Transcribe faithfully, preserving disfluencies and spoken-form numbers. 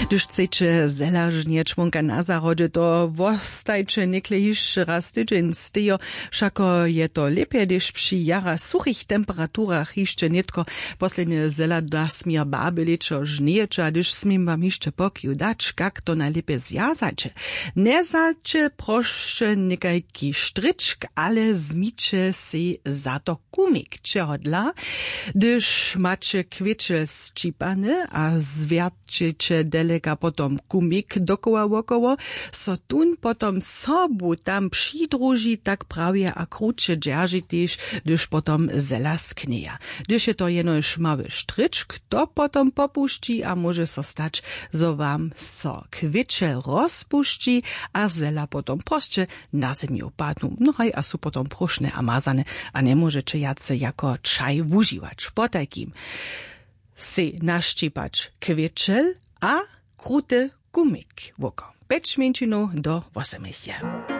Hdyž chceće zelažnje čłonka na zahrodźe, to wostajće někle hišće raz tydźeń stejo. Wšako je to lěpje, hdyž při jara suchich temperaturach hišće nětko poslednje zela nasměr baby lěćo žnějeće. A hdyž směm wam hišće pokiw dać, kak to najlěpje zwjazaće, njezaće prosće někajki štryčk, ale zmiće sej za to kumik. Čehodla? Hdyž maće kwěčel sćipany a zwjatćeće deleka potom kumik dokoła wokoło, so tón potom sobu tam přidruži, tak prawje a kruće dźerži tež, hdyž potom zela sknjeja. Hdyž je to jenož mały štryčk, to potom popušći a móže so stać, zo wam so kwěčel rozpušći a zela potom prosće na zemju padnu. No haj, a su potom próšne a mazane a njemóžeće wjace jako čaj wužiwać. Potajkim sej našćipać kwěčel a kruty kumik woko pjeć mjeńšinow do wosomich je.